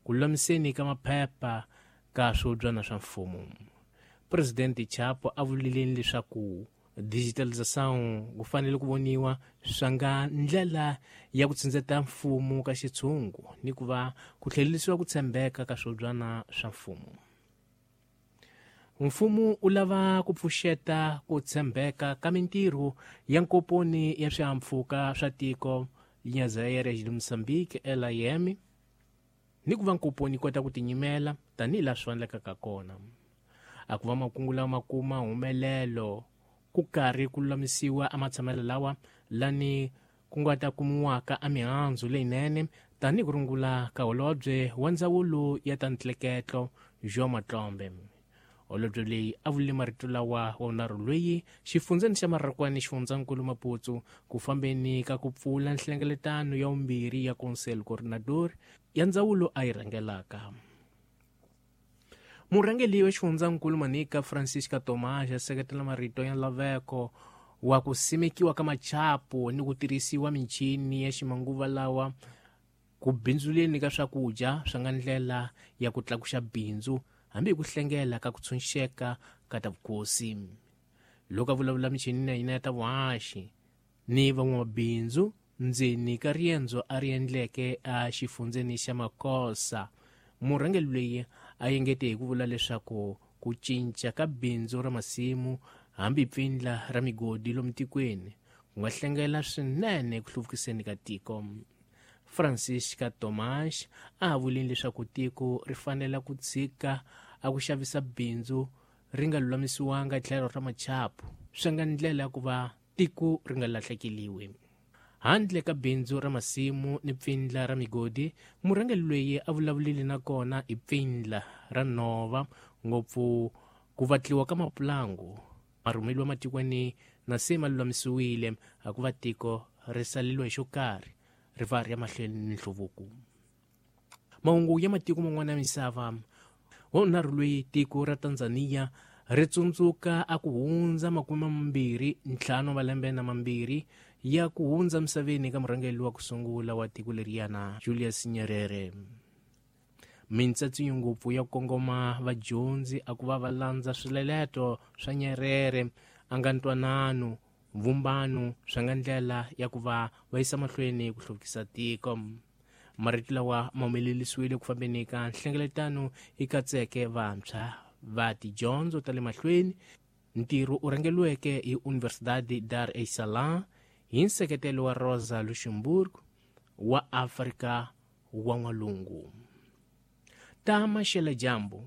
Ku lulamiseni ka maphepha ka swihubyana swa mfumo. Presidente Chapo a vulile leswaku digitalização ku fanele ku voniwa swa nga ndlela ya ku tsindzeta mfumo ka xitshungu ni ku va ku tlhelerisiwa ku tshembeka ka swihubyana swa mfumo. Mfumo u lava ku pfuxeta ku tshembeka ka mintirho ya nkomponi ya swihahampfhuka swa tiko Linhas Aéreas de Moçambique LIM ni ku va nkomponi yi kota ku tinyimela tanihi laha swi fanelekaka kona. A ku va makungu lawa ma kuma humelelo ku karhi ku lulamisiwa amatshamelo lawa lani ku nga ta kumiwaka a mihandzu leyinene tanihi ku rungula ka holobye wa ndzawulo ya ta ntleketlo João Matlombe. Holobye leyi a vulile marito lawa wa vunharhu loyi xifundzeni xa Marrakwani xifundzankulu Maputo ku fambeni ka ku pfula nhlengeletano ya vumbirhi ya Conselho Coordenador ya ndzawulo a yi rhangelaka. Murhangeri wa xifundzankulu Manica Francisca Tomás a seketela marito ya nlaveko wa ku simekiwa ka machapu ni ku tirhisiwa michini ya ximanguva lawa ku bindzuleni ka swakudya swa nga ndlela ya ku tlakuxa bindzu hambi hi ku hlengela ka ku tshunxeka ka ta vukosi. Loko a vulavula michinini ya hina ya ta vuhaxi ni van'wamabindzu ndzeni ka riendzo a ri endleke exifundzeni xa Makosa, murhangeri loyi a engete hi ku vula leswaku ku cinca ka bindzu ra masimu hambi pfindla ra migodi lomu tikweni ku nga hlengela swinene eku hluvukiseni ka tiko. Francisca Tomás a ha vulini leswaku tiko ri fanele ku tshika a ku xavisa bindzu ri nga lulamisiwanga tlhelo ra machapu swi nga ndlela ya ku va tiko ri nga lahlekeliwi. Handle ka bindzu ra masimu ni pfindla ra migodi, murhangeri loyi a vulavulile na kona hi pfindla ra nhova, ngopfu ku vatliwa ka mapulangu. Marhumeliwa matikweni na se ma lulamisiwile, a ku va tiko ri saleliwa hi xo karhi, ri va ri ya mahlweni ni nhluvuko. Mahungu ya matiko man'wana ya misava. Wa vunharhu loyi tiko ra Tanzania ri tsundzuka a ku hundza 25 malembe na mambirhi ya ku hundza misaveni ka murhangeri wa ku sungula wa tiko leriyana Julius Nyerere. Mintsatsinyo ngopfu ya ku kongoma vadyondzi a ku va va landza swileleto swa Nyerere a nga ntwanano vumbano swa nga ndlela ya ku va va yisa mahlweni ku hluvukisa tiko. Marito lawa ma humelerisiwile ku fambeni ka nhlengeletano yi katseke vantshwa va tidyondzo ta le mahlweni. Ntirho u rhangeriweke hi Universidade Dar es Salaam hi nseketelo wa Rosa Luxemburg wa Afrika wa N'walungu. Ta maxela-dyambu.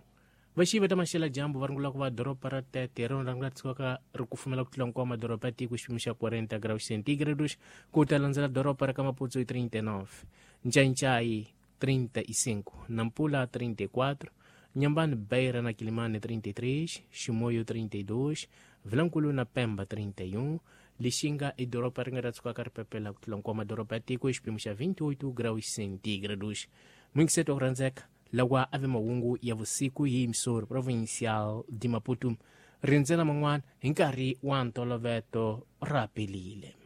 Vaxivi ta maxela-dyambu va rungula ku va doroba ra Tete hi rona ra nga tshukaka ri kufumela ku tlula hinkwawo madoroba ya tiko xipimo xa 40 graus centigrados ku ta landzela doroba ra ka Maputo hi 39, Ncaincayi 35, Nampula 34, Nyambani Beira na Quilimane 33, Chimoio 32, Vilankulu na Pemba 31, Lixinga i doroba ri nga ta tshukaka ri pepela ku tlula hinkwawo madoroba ya tiko hi xipimo xa 28 graus centigrados. Mwingiseto wa ku rhandzeka lawa a ve mahungu ya vusiku hi Emissor Provincial de Maputo. Rindzela man'wana hi nkarhi wa ntoloveto ra pelile.